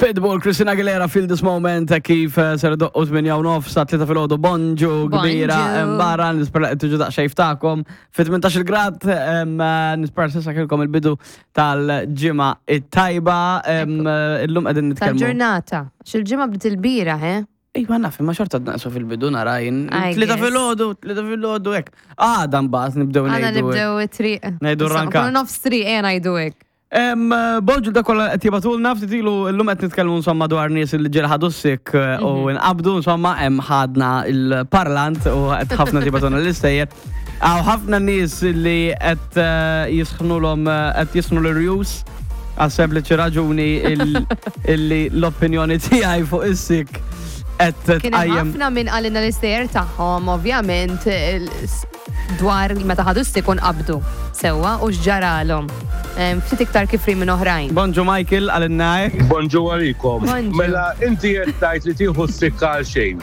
Pitbull, Christina Aguilera, Feel This Moment, kif eh, ser doqqu 8 u nofs sa 3 filgħodu bonġu kbira barra nispera qed tiġu daqsxejn ftakom fi 18 grad eh, nispera s'issa kilkom il-bidu tal-ġimgħa it-tajba eh, illum qegħdin nitkellmu. Tal-ġurnata. Xil-ġimgħa bdiet il-bira, he? Iva naf, imma xorta naqsu fil-bidu nara jien. Tlieta filgħodu, tlieta filgħodu hekk. Għada mbagħad nibdew ngħidu. Għada nibdew it-triq. Ngħidu ranka. Nofs triq eh ngħidu hekk. Bonġu da kollha qed jibatulna ftit ilu llum qed nitkellmu insomma dwar nies li ġiel ħadu s-sik eh, u mhm. nqabdu insomma hemm ħadna il-parlant u qed ħafna tibatulna l-istejjer. Għaw ħafna nies li qed eh, jisħnulhom eh, qed jisħnu l-rjus għal sempliċi raġuni illi l-opinjoni tiegħi fuq is-sik qed tqajjem. Ħafna minn qalilna l-istejjer tagħhom ovvjament dwar meta ħadu s-sik u nqabdu sewwa u x'ġaralhom. Ftit iktar kifri minn oħrajn. Bonġu Michael, għalinna hekk. Bonġu għalikom. Mela inti qed tgħid li tieħu s-sikka għal xejn.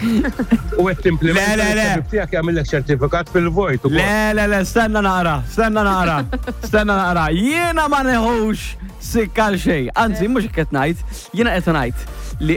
U qed timplimenta Le, le, le. l-ħabib tiegħek jagħmillek ċertifikat fil-vojt ukoll. Le, le, le, stenna naqra, stenna naqra, stenna naqra. Jiena ma neħux sikka għal xejn. Anzi, mhux hekk qed ngħid, jiena qed ngħid li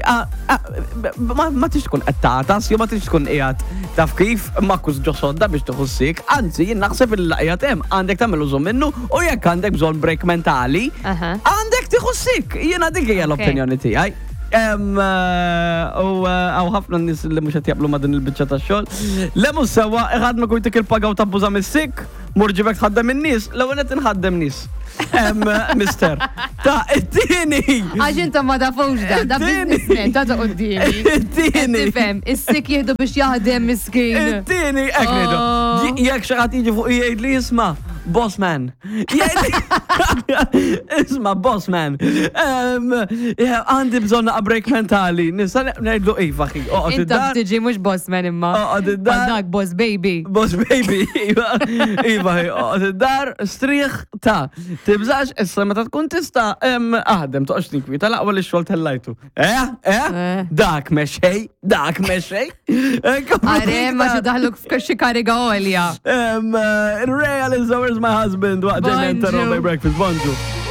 ma tix tkun qed tagħtas, jew ma tix tkun qiegħed taf kif makkus ġo sodda biex tieħu sik, anzi jien naħseb il qiegħed hemm għandek tagħmel użu minnu u jekk għandek bżonn break mentali, għandek tieħu sik. Jiena dik hija l-opinjoni tiegħi. Eh, u eh, għaw ħafna nis li mux qed jaqblu ma' din il-biċċa ta' xogħol. Le mhux sewwa iħadmek u jtik il-paga u tabbuża mis-sik. Mur ġibek tħaddem in-nies, l-ewwel qed inħaddem nies. Mister, ta' it-tieni. Għax intom ma tafux da, da businessman ta' ta' qudiemi. It-tieni. Tifhem, is-sik jieħdu biex jaħdem miskin. It-tieni, hekk ngħidu. Oh. Jekk xi ħadd jiġi fuq jgħid li jisma' boss man. Isma' boss man. Għandi bżonn naqa' break mentali. Nista' ngħidlu iva ħi. Oqgħod Inta id-dar. tiġi mhux boss man imma. Oqgħod id-dar. Dak boss baby. Boss baby, iva, iva, oqgħod id-dar, strieħ ta' tibżax, issa meta tkun tista' aħdem, toqgħodx tinkwieta l-aqwa li x-xogħol tellajtu. Eh, eh, Eh. dak mexej, dak mexej. Are, ma xi daħluk f'xi kariga għolja. Ray Aliza, where's my husband? Waqt Ġejna Bonġu. Breakfast, bonġu.